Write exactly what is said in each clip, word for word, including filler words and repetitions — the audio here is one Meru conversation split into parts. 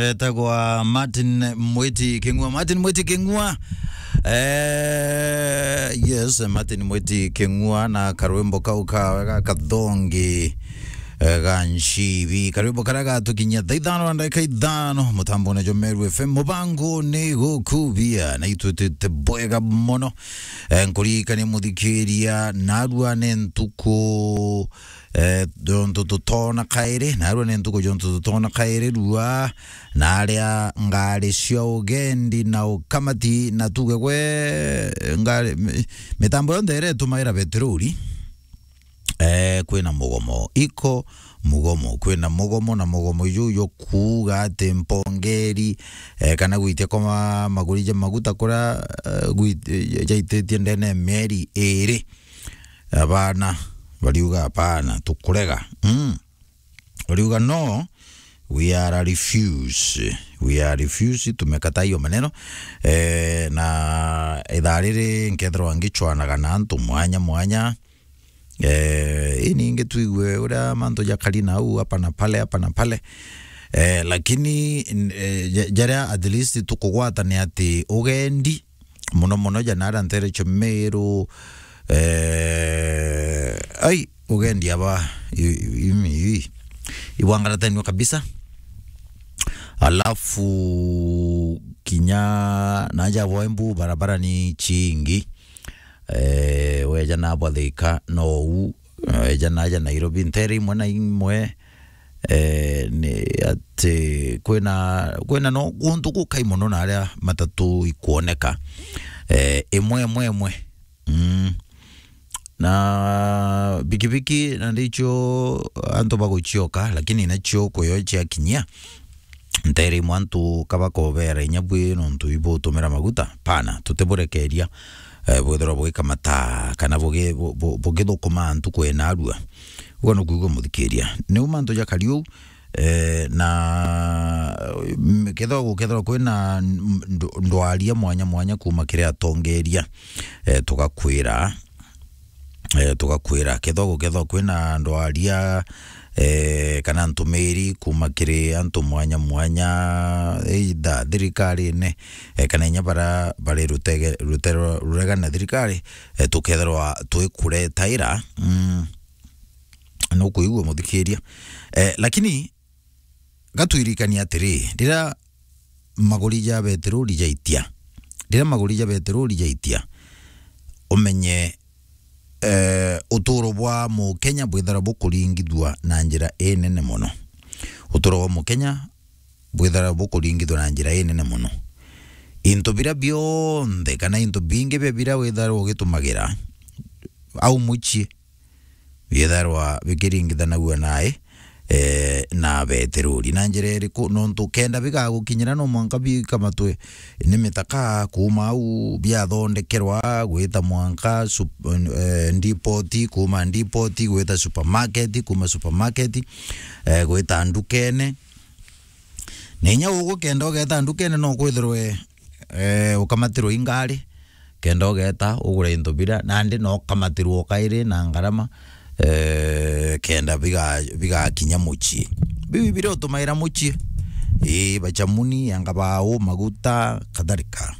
Etagwa Martin Mwiti King'ua. Martin Mwiti King'ua. Eh, yes, Martin Mwiti King'ua na karwimbo kau kawe ga kathongi, eh, ga nshibi. Karwimbo karia gatukinyia thaa ithano na ndagika ithano, mutambone jo Meru F M. Mubango ni gukubia, na itwitite bwega mono. Eh, nkuririkanie muthikiria, narua ni ntuku, eh, jontu tutona kairi, narua ni ntuku jontu tutona kairi, rua na aria ngari cia ugendi na ukamati, na tuge gwe ngari, mi-, mitambo yonthe iria itumaira betiruri, eh, kwina mugomo. Iko mugomo, kwina mugomo, na mugomo juu jukuuga ati mpongeri, eh, kana gwitia kwa ma-, maguri ja maguta kuria, eh, gwit-, eh, jaititie ndene ya mieri iri. Abana bariuga, "Hapana, tukurega." Mm. Bariuga, "No, we are a refuse. We are refuse, tumekataa hiyo maneno." Eh, na ithaa riri nkethirwa ngichwanaga na antu mwanya mwanya. Eh, ini ingi twigue uria mantu jakari nau hapa na pale, hapa na pale. Eh, lakini, eh, ja-, jaria at least tukugwata ni ati ugendi, muno muno ja nara ntere cia Meru, eh, ai, ugendi aba, i-, i-, i-, ibwangaratanua kabisa. Alafu kinya naja bwa Embu barabara ni chingi. Eh, weja na bwa Thika no u, weja naja Nairobi, ntere imwe na imwe, eh, ni ati kwina, kwina no guntu gukai mono na aria matatu ikwoneka, eh, imwe, imwe, imwe. Mm. Na bikibiki na ndicho antu bagucioka, lakini nacio kuyo ciakinyia, ntere imwe antu kabakobera inya bwi nontu ibutumira maguta, pana, tutiburekeria, eh, bwithirwa bugikamata kana bugi-, bu-, bu-, bugithukuma ntuku ina arua. Ugo nukuigua muthikiria. Niu mantu jakari uu, eh, na, mm, kethirwa gukethirwa kwina, mm, nd-, ndwaria mwanya mwanya kuma kiri atongeria, eh, tugakwira, eh, tugakwira. Kethirwa gukethirwa kwina ndwaria, eh, kana ntumiri kuma kiri antu mwanya mwanya, either thirikarine, eh, kana inya bara bari rutege-, rutero-, rurega na thirikari, eh, tukethirwa twikuretaira, mm, nukuigua muthikiria. Eh, lakini gatwirikania atiri, riria maguri ja betiruri jaitia, riria maguri ja betiruri jaitia, umenye, eh, uturo bwa Mukenya bwithara bukuringithua na njira inene mono. Uturo bwa Mukenya bwithara bukuringithua na njira inene mono. Into bira bionthe kana into bingi bia bira withara ugitumagira au mucii, bietharwa bikiringithanagua nae, eh, na betiruri. Na njira iriku? Nontu kenda bigagukinyira, no mwanka bikamatwe ni mitaka kuuma au biathondekerwa, gwita mwanka sup-, eh, ndipoti, kuuma ndipoti, gwita supermarket, kuuma supermarket, eh, gwita ndukene. Na inya ugu kenda ugeta ndukene, no kwithirwe, eh, ukamatirwe i ngari, kenda ugeta ugure into bira, nandi no ukamatirwe o kairi na ngarama, eh, kenda biga-, bigakinya mucii. Biu bira utumaira mucii, ii, bachamuni, anga bau, maguta, kadhalika.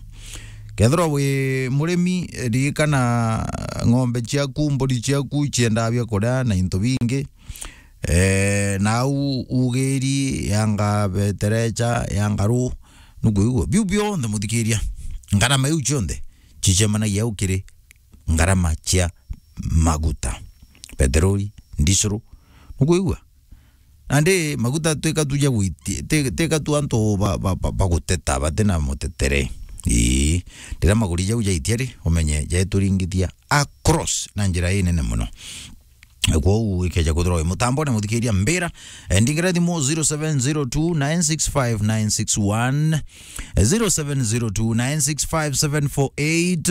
Kethirwa wi murimi, ririkana ng'ombe ciaku, mburi ciaku ciendaa bia kuria na into bingi. Eh, nau ugiri yanga beterecha, yanga ru, nukuigua? Biu bionthe, muthikiria, ngarama iu cionthe cicemanagia au kiri ngarama cia maguta, peteroli, ndisuru, nukuigua? Nandi maguta twika tu ja gwiti-, ti-, tika tu antu ba, ba, ba, baguteta, batina mutetere. Ii, riria maguri jau jaitia ri, umenye jaituringithia across na njira inene mono. Kwou ikeja kwithirwa wi mutambone, muthikiria, mbira, eh, ndingira thimu zero seven zero two nine six five nine six one, eh, zero seven zero two nine six five seven four eight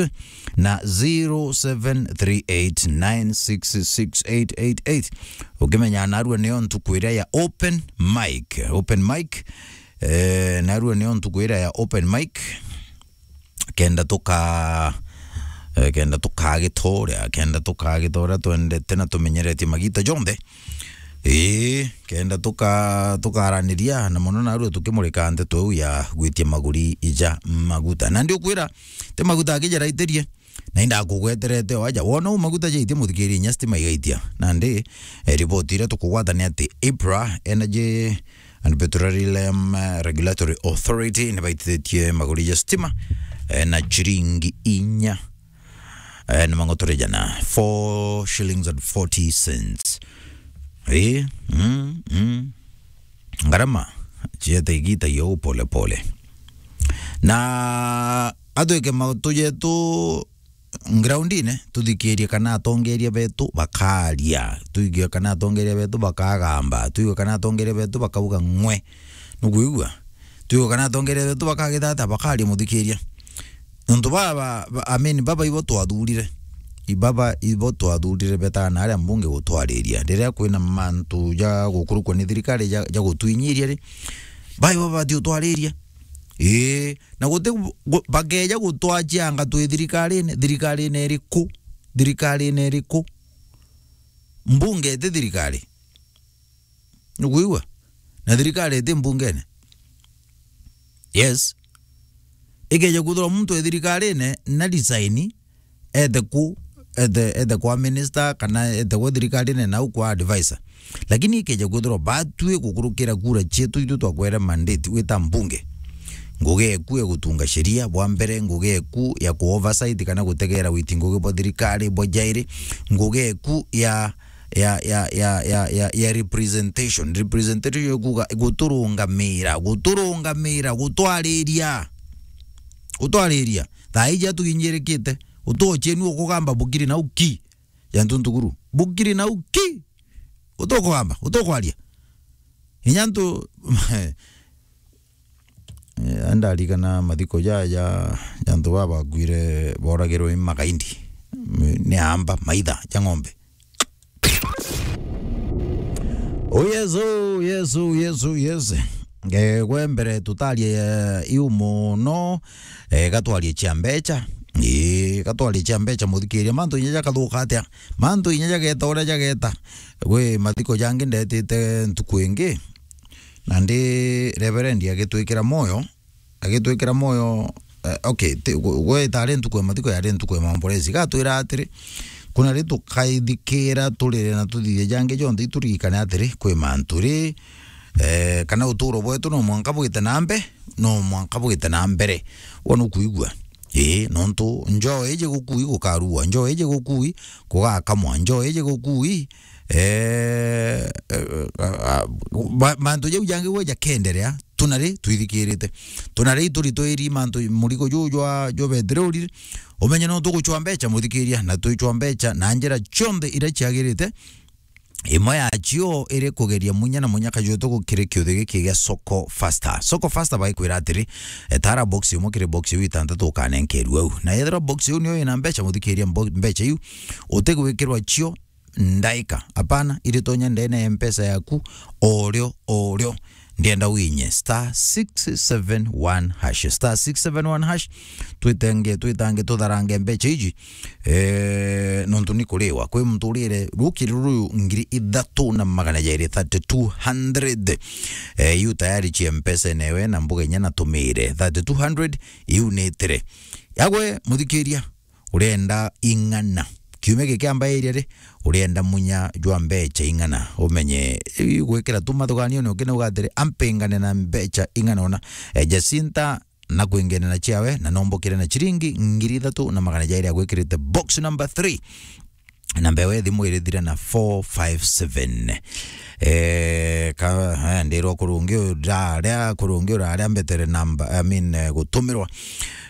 na zero seven three eight nine six six eight eight eight. Ukimenya narua niyo ntuku iria ya open mic, open mic, eh, narua niyo ntuku iria ya open mic. Kenda tuka-, eh, kenda tukagitoria, kenda tukagitoria twendete na tumenyeretie magita jonthe. Ii, kenda tuka-, tukaraniria na mono narua tukimurika nteto iu ya gwitia maguri ija maguta. Na ndiukwira, ti maguta akijaraitirie, na indakugweterete o aja. Wona u maguta jaitie, muthikiria, inya stima igaitia. Nandi, eh, riboti iria tukugwata ni ati IPRA, Energy and Petroleum, eh, Regulatory Authority, nibaititie maguri ja stima, eh, na chiringi inya, eh, na mang'otore jana, four shillings and forty cents. Eh, mm, mm. Ngarama ciete igita yo pole pole. Na atwike matu jetu groundine, tuthikirie kana atongeria betu bakaria, tuigue kana atongeria betu bakagamba, tuigue kana atongeria betu bakauga ng'we. Nukwigua? Tuigue kana atongeria betu bakagita atia, bakaria, muthikiria. Nontu baba, ba-, I mean, baba ibo twathurire. I baba ibo twathurire betana aria mbunge gutwariria. Riria kwina mantu ja gukurukwa ni thirikari ja, ja gutwinyiria ri, baba ibo babati utwariria. Ii, na guti gu-, bakeja gutwachianga twi thirikarine, thirikarine iriku? Thirikarine iriku? Mbunge iti thirikari. Nukwigua? Na thirikari iti mbungene. Yes. Ikeja kwithirwa muntu e thirikarine na resign, ete ku, ete, ete kwa minister, kana ete kwa thirikarine na u kwa advisor. Lakini ikeja kwithirwa batwi gukurukira kura cietu itu twakwere mandate wita mbunge, ngugi eku ya gutunga sheria bwa mbere, ngugi eku ya ku oversight kana gutegera witi ngugi bwa thirikari bwa jairi, ngugi eku ya, ya, ya, ya, ya, ya, ya representation. Representation ikuga guturungamira, guturungamira, gutwariria. Gutwariria. Thaa iji atuginyirikite, utochenu ukugamba bukiri na uki. Ya ntuntukuru. Bukiri na uki. Utukugamba, utukwaria. Inya ntu, eh, andarikana mathiko ja, ja, ja antu baba bakwire boragirwe ni magaindi. Ni amba, maitha ja ng'ombe. Oh, yes, oh, yes, oh, yes, oh, yes. Eh, gwe mbere tutarie, eh, iu mono, eh, gatwarie cia mbecha. Ii, gatwarie cia mbecha, muthikiria. Mantu inya jakathuka atia? Mantu inya jageta uria jageta. Gwi mathiko jangi ndetite ntuku ingi, na ndi Reverend agitwikira moyo, agitwikira moyo, eh, okay, ti, gwe, gwe itari ntuku ya mathiko, yari ntuku ya maombolezi. Gatwira atiri, kuna ri tukaithikira turire na tuthithie jangi jonthe, iturikane atiri, kwi mantu ri, eh, kana uturo bwetu no mwanka bwite na mbe-, no mwanka bwite na mbere. Wona ukuigua? Ii, nontu njoo iji gukui gukarua, njoo iji gukui kugakamwa, njoo iji gukui, eh, eh, ah, ah, ma-, mantu jau jangi gwe jakenderea, tunari twithikirite. Tunari ituri twiri mantu, murigo juu jwa, jwa betiroli, umenye no tuguchwa mbecha, muthikiria, na twichwa mbecha na njira cionthe iria ciagirite. Imwe yacio iri kugeria munya na munya kajutu gukiri kiuthi giki gia Soko Faster. Soko Faster baikwira atiri, etara box imwe kiri box iu itantatu ukanenkerua au. Na yethirwa box iu niyo ina mbecha, muthikiria, mbo-, mbecha iu utigwikirwa cio ndaika. Apana, iritonya ndene ya mpesa yaku, orio, orio. Ndienda winye star six seven one hash, star six seven one hash. Twitenge, twitange, tutharange mbecha iji, eh, nontu ni kuriwa. Kwi muntu urire rukiri ruyu ngiri ithatu na magana jairi, thirty-two hundred. Eh, iu tayari cia mpesa newe na mbuga inya natumire. Thirty-two hundred, iu nitire. Yagwe, muthikiria, urenda ing'ana? Kiumia giki amba iria ri, urenda munya jwa mbecha ing'ana? Umenye, i-, gwikira tu mathuganio ni ukinauga atiri, ampingane na mbecha ing'ana ona. Eh, Jacinta, na kwingene na ciawe, na nombokire na chiringi ngiri ithatu na magana jairi agwikirite box number three. Namba ewe thimu irithire na four five seven. Eh, ka, eh, ndirwa kurungi uraria, kurungi uraria mbetere namba, I mean, eh, gutumirwa,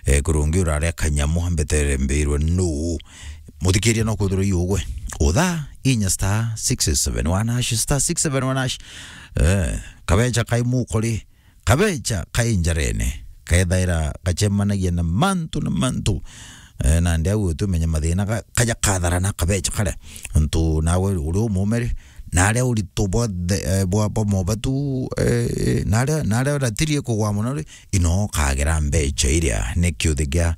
eh, kurungi uraria kanyamu mbetere mbirwe nu. Muthikiria no kwithirwa iugwe. Utha inya star six seven one hash, star six seven one hash. Eh, kabecha kai mukori, kabecha kai njarene, kethaira gacemanagia na mantu na mantu. Eh, nandi au tumenye mathina ga-, kaja katharana kabecha karia. Ntu nawe uri umumere, naria urito bwa the, eh, bwa, bwa mobatu, eh, naria, naria uratirie kugwa mono ri, ino kagera mbecha iria ni kiuthi gia,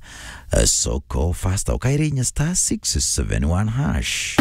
eh, Soko Faster. Ukaire inya star six seven one hash.